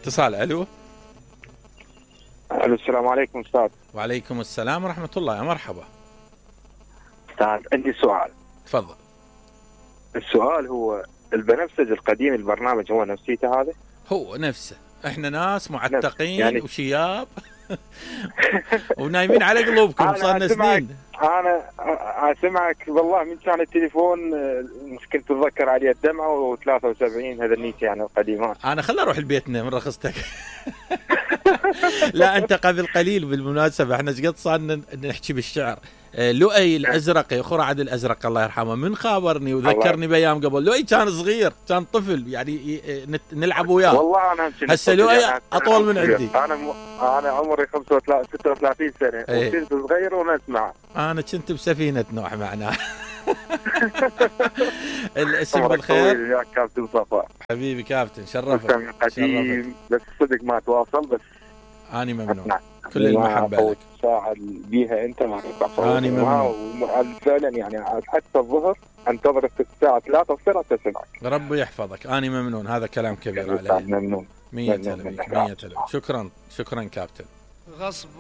اتصال. الو. الو السلام عليكم استاذ. وعليكم السلام ورحمة الله. يا مرحبا استاذ عندي سؤال. تفضل. السؤال هو البنفسج القديم البرنامج هو نفسيته هذا؟ هو نفسه. احنا ناس معتقين يعني وشياب ونايمين على قلوبكم صارنا سنين. انا اسمعك والله من كان التليفون كنت اتذكر عليه الدمعه و73 هذا النيت يعني القديمات. انا خل اروح لبيتنا من رخصتك. لا انت قبل قليل بالمناسبه احنا ايش قد صارنا نحكي بالشعر. لؤي الازرق يا خرعد الازرق الله يرحمه من خابرني وذكرني بايام قبل. لؤي كان صغير كان طفل يعني نلعب وياه. والله انا هسه لؤي اطول من عندي. انا عمري 36 سنه وكنت صغير ونسمع. انا كنت بسفينه نوح معناه. الاسم بالخير يا كابتن صفا. حبيبي كابتن شرفك. قديم بس صدق ما تواصل بس. اني ممنون. كل المحبه لك. ساعة بيها انت ما تقطع. اني ممنون. فعلا يعني حتى الظهر انتظر الساعة 3 وصير تسمعك. ربي يحفظك. اني ممنون. هذا كلام كبير علي. ممنون. 100 شكرا كابتن. غصب